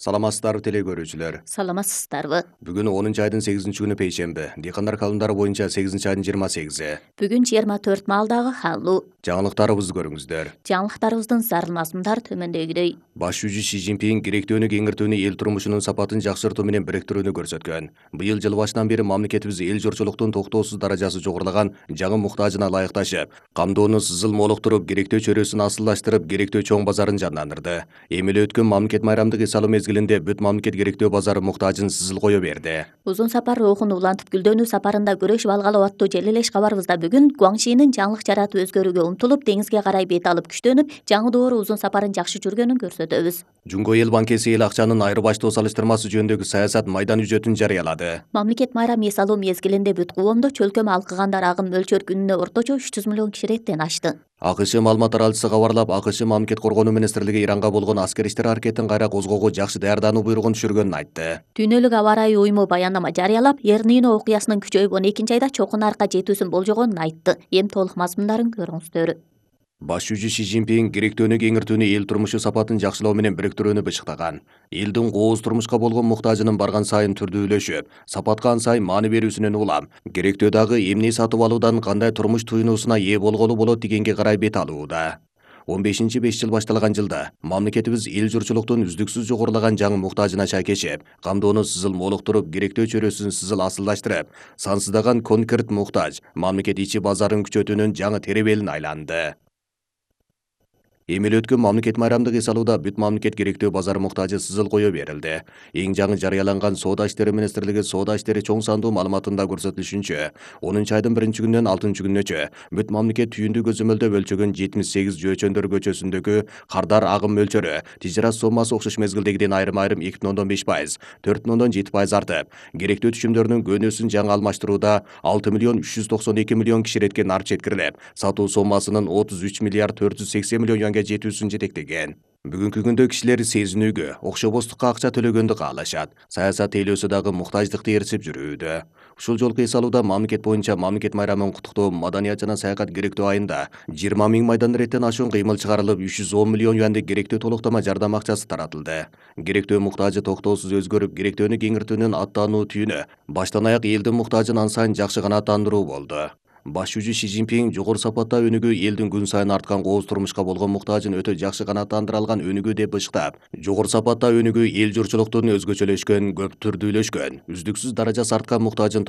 Саламатсыздарбы теле көрүүчүлөр. Саламатсыздарбы. Бүгүн 10-айдын 8-күнү пейшемби. Дыйкандар календарı боюнча 8-айдын 28-и. Бүгүн 24 маалдагы халлуу. Жаңылыктарыбызды көрүңүздөр. Жаңылыктарыбыздын зарыл мазмундар төмөндөгүдөй. Баш жүзү Си Цзиньпин керектөөнү кеңиртүүнү эл турмушунун сапатын жакшыртуу менен бириктирүүнү көрсөткөн. Быйыл жыл башынан бери мамлекетибиз эл журчулуктун токтоосуз даражасы жогорулаган жаңы муктажына ылайыкташып, камдоону сызыл молуктуруп, керектөө чөйрөсүн асылдаштырып, керектөө чоң базарын жандандырды. Эми эле өткөн мамлекет майрамдык эс алуу мезгилинде бүт мамлекет керектөө базары муктажын сызыл кое берди. Узун сапар рухун улантып гүлдөнүү сапарында күрөшүп алгалоо аттуу желилеш кабарыбызда бүгүн Гуаңшинин жаңылык жаратып өзгөрүүгө умтулуп, деңизге карай бет алып күчтөнүп, жаңы доору узун сапарын жакшы жүргөнүн көрсөтөбүз. Жумго эл банкеси эл акчанын айырбаштоо салыштырмасы жөнүндөгү саясат майдан үжөтүн жарыялады. Мамлекет майрам эс алуу мезгилинде бүт коомдо чөлкөм алкыгандар агым мөлчөр күнүнө орточо 300 миллион киши реттен ашты. АКШ маалымат таралчысы кабарлап, АКШ мамлекет коргонуу министрлиги Иранга болгон аскер иштер аракетин кайра козгоого жакшы даярдануу буйругун түшүргөнүн айтты. Дүйнөлүк аба ырайы уюму баяндама жарыялап, Эр-Нино окуясынын күчөйүп 12 айда чокун арка жетүүсүн болжогонун айтты. Эми толук мазмундарын көрүңүздөр. Баш жүзү Си Цзиньпин керектөөнү кеңиртүүнү эл турмушу сапатын жакшылоо менен бириктирүүнү бычыктаган. Элдин кооз турмушка болгон муктажынын барган сайын түрдүүлөшүп, сапатка ан сайын маани берүүсүнөн улам, керектөө дагы эмне сатып алуудан кандай турмуш туюнуусуна ээ болголу болот дегенге карай бет алууда. 15-5 жыл башталган жылда мамлекетибиз эл журчулуктун үздүксүз жогорулаган жаңы муктажына шайкешип, камдоону сызыл молуктуруп, керектөө чөйрөсүн сызыл асылдаштырып, сансыздаган конкрет муктаж мамлекет ичи базарын күчөтүүнүн жаңы теребелин айланды. Эми эле өткөн мамлекет майрамдык эс алууда бүт мамлекет керектөө базар муктажы сызыл кое берилди. Эң жаңы жарыяланган Соода иштери министрлиги Соода иштери чоң сандуу маалыматында көрсөтүлүшүнчө, 10-айдын 1-күнүнөн 6-күнүнөчө бүт мамлекет түйүндүү көзөмөлдө өлчөгөн 78 Жөөчөндөр көчөсүндөгү кардар агым мөлчөрү тижират соммасы окшош мезгилдегиден айрым-айрым 2,5%, 4,7% артып, керектөө түшүмдөрүнүн көнөөсүн жаңы алмаштырууда 6,392 миллион киши ретке нарт жеткирилип, сатуу соммасынын 33,480 миллион жетүүсүн жетектеген. Бүгүнкү күндө кишилер сезинүүгө, окшобостукка акча төлөгөндү каалашат. Саясат тейлөөсү дагы муктаждыкты ээрчип жүрүүдө. Ушул жолку эс алууда мамлекет боюнча мамлекет майрамын куттуктоо маданият жана саякат керектөө айында 20 000 майдан реттен ашуун кыймыл чыгарылып, 310 миллион юандык керектөө толуктама жардам акчасы таратылды. Керектөө муктажы токтоосуз өзгөрүп, керектөөнү кеңиртүүнүн аттануу түйүнү баштан аяк элдин муктажын ан сайын жакшы канааттандыруу болду. Баш жүзү Си Цзиньпин жогору сапатта өнүгүү элдин күн сайын арткан кооз турмушка болгон муктажын өтө жакшы канааттандыра алган өнүгүү деп бычыктап, жогору сапатта өнүгүү эл журчулуктун өзгөчөлөшкөн, көп түрдүүлөшкөн, үздүксүз даражасы арткан муктажын